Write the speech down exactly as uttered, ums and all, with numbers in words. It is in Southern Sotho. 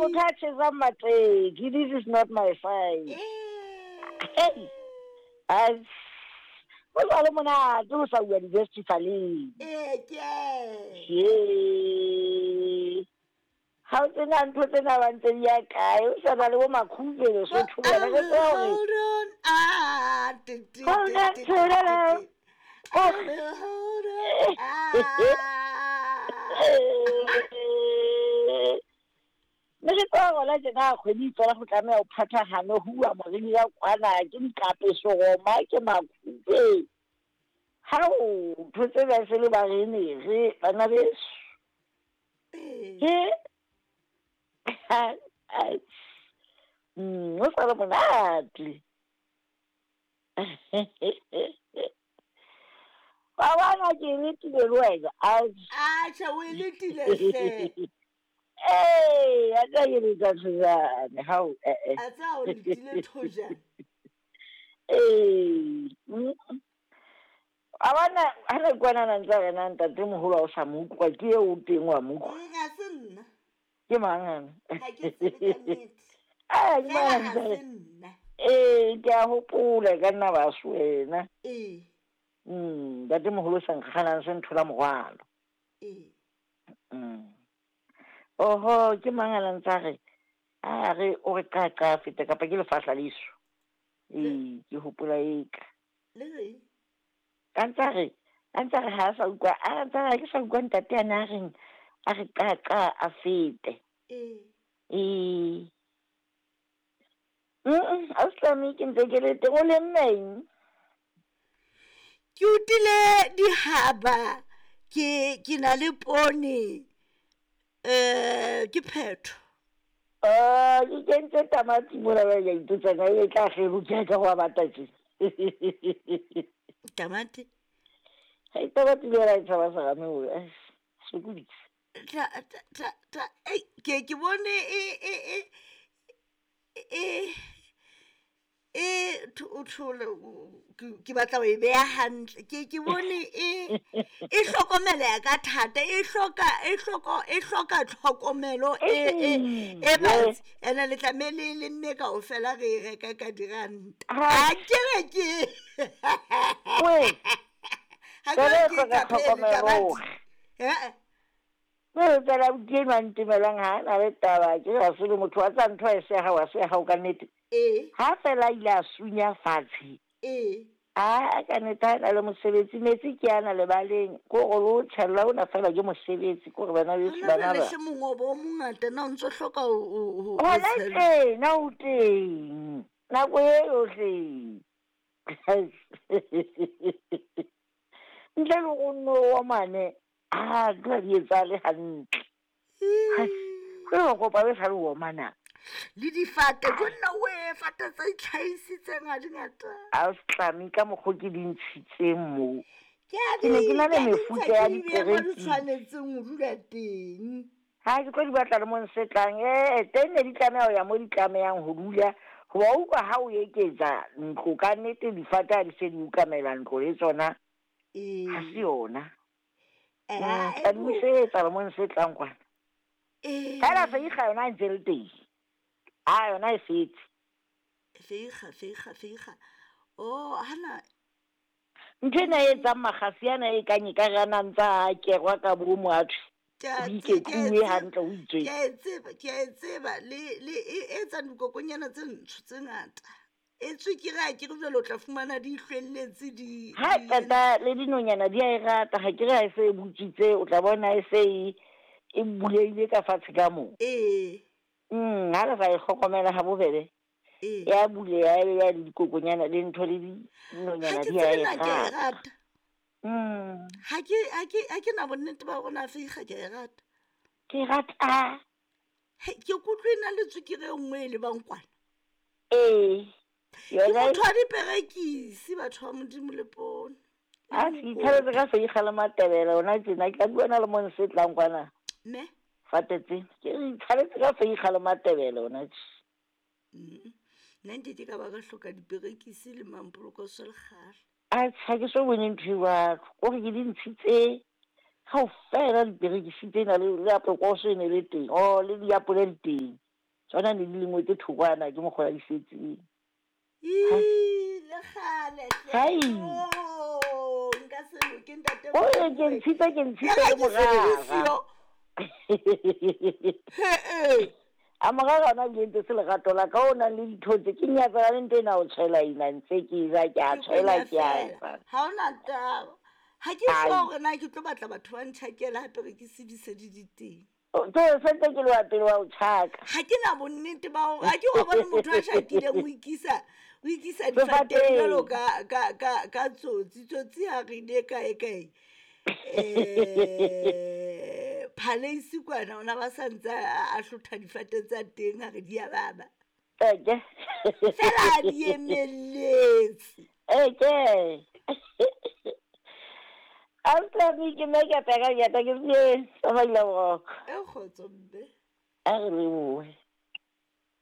Motho a tjhesang matleki, this is not my fight. Eh. Hey. Ho sa le monate ho sa uwa di-festivaleng. Ee, ke. Ye. Ha o tsena ntho tsena ba ntse di ya kae, o sa na le bo Makhube Lesotho I bana, re will tseba hore hold on. Ah, ti, ti, Hold ti, on ti, to the ti, ti. love. I will hold on. Ah. Mme re tseba gona tjena kgwedi e fela go tlameha ho phathahane ho uwa moriri ya kwana, ke dikapeso Roma, ke Makhube. Hao, ntho tsena e se le barenere, bana beso. Ee. Ke Mm, ho sa le monate. Wa bona ke letile le wena. Atjha, o e letile hle. Ee, a tla ke letsa thojane. Hao, eh, eh. A tseba o letile thojane. Ee. Mm. Wa bona, ha re kwana ntse re na ntatemoholo ha o sa mo utlwa, ke eo o teng wa mo utlwa. Ee, ha se nna. Ke mang ana? Ha ke tsebe ka nnete. Ah, ke Fela mang ha ntse se re- nna. Ee, ke a hopola e ka nna ba se wena. Ee. Mm, ntatemoholo sa nkganang se nthola morwalo. Ee. Mm. Oho, ke mang a ntse a re, a re o re qa qa feta kapa ke lefahla leso. Ee, ke hopola eka. Le reng? Ka ntse a re, a ntse a re ha a sa utlwa, a ntse a re ha ke sa utlwa ntate ane a reng, a re qa qa a fete. Ee. Ee. Mm, ausi ke ntse ke le teng, o lemme eng? Ke utile dihaba, ke ke na le poone. Eh, ke phetho. Ah, ke kentse tamati mona ba ya ipotsa na e tla kgeruka ka ho bata tje. Tamati. Ha e tamati le yona e tshaba serame o, eh, sokodisa. Ta ta ta ta ei, ke ke bone e e e e e o thole ke batla ho e beha hantle. Ke ke bone e e hlokomeleha ka thata, e hloka e hloka e hloka tlhokomelo e e e batsi. Ene le tlameha le lemme kaofela re e reka ka diranta. Ha ke re ke Wee. Ha ke Jwale re e ke hloka ka phela tlhokomelo tamati. hore. Eh. Mme fela ke enwa a ntemelang ha a na le taba, ke re ha se le motho wa tsa ntho ha e se ya hao, ha se ya hao ka nnete. Ee. Ha fela a ile a sunya fatshe. Ee. Ah, ka nnete ha na le mosebetsi, metsi ke ana lebaleng, ke hore le o tjhella ona fela ke mosebetsi, ke hore bana beso Hona bana jwale ba. hle mongobo o mongata na o ntso hloka ho ho ho Hona tshela. tjena o teng, nako e yohle. Ntle le ho nno omane, ah, ntho ha di etsahale hantle. Ke ho kopa be sa le omana. Le difate, jo nna we, fate tse itlhahisitseng ha di ngata. A se ka mokgo ke di ntshitseng moo. Ke a Ke ne ke na di le ke a di mefuta ntsha ya ke di beha mo di diperekisi. tshwanetseng ho dula teng. Ha ke tlo di batla le mo nsetlang, eh, teng ne di tlameha ho ya mo di tlamehang ho dula. Hoba o utlwa ha o eketsa ntlo ka nnete difate ha di se di ukamela ntlo le tsona. Ee. Ha se yona. Eh, Mm, tla di busetsa le mo nsetlang kwana. Ee. Fela feiga yona e ntse le teng. Ah, yona e setse. Feiga, feiga, feiga. Oh, hana. Ntho ena e etsang makgasi ana e kang ekare a na ntsa a kerwa ka bomo a thwe. Ke a O tse- iketluwe ke a tseba, hantle, o itswe. ke a e tseba, ke a e tseba. Le, le e etsang dikokonyana tse ntsho tse ngata. E tswekere ha ke re jwale o tla fumana di hlwelletse di, Ha di qeta le dinonyana di a e rata, ha ke re ha e se e butswitse, o tla bona e se e, e bulehile ka fatshe ka moo. Ee. Mm, ha re sa e hlokomela ha bobebe. Ee. Ya buleha, ya ya le dikokonyana le ntho le dinonyana Ha ke di a tsebe e na ke a e rata. rata. Mm. Ha ke, ha ke, ha ke na bonnete ba hore na feiga ke a e rata. Ke rata. Hei, ke kutlwe e na le tswekere e nngwe e lebang kwana. Ee. Ke Yona e motho wa diperekisi, batho ba Modimo le poone. Ha se ithabetse ka feiga le matebele hona tjena, ke tla bua na le mo nsetlang kwana. Ne? Fate tse, ke re ithabetse ka feiga le matebele hona tje. Mm. Nna nkeke ka ba ka hloka diperekisi le mampolokoso le kgale. Atjhe, ha ke so bone ntho e jwalo. Kore ke di ntshitse kaofela diperekisi tsena le, le apokoso e ne le teng. Oh, le diapole di teng. Tsona ne di lengwe tse thokwana ke mokgwa di setseng. Ii, le kgale hle. Hai. Oh, nka se loke ntate O re ke Mokoena. ntshitse ke ntshitse Ya le ka ke se le morara. siyo. He-eh. A morara ona ebile ntse se lerato la ka o nang le dithotse ke nyatsana le ntho ena o tshwela ina ntse ke ja ke a Ke tshwela kwenya ke a feela. etsa. Ha hona taba. Ha ke Ai. sure hore na ke tlo batla batho ba ntjhakela hape re ke sedise di di teng. O- Ke sentse ke le wa pele wa ho tjhaka. Ha ke na bonnete ba hore ha ke wa bone motho a shakileng o ikisa o ikisa difateng Sefateng. jwalo ka ka ka ka tsotsi. Tsotsi ha re ile kae kae. Eh Palace kwana ona ba sa ntse a a hlotha difate tsa teng ha re di a baba. Eke. Fela a di emelletse. Eke. Autlwane ke nna ke a peka ke ata ke se tsamaile boroko. E kgotso mme. A re lebohe.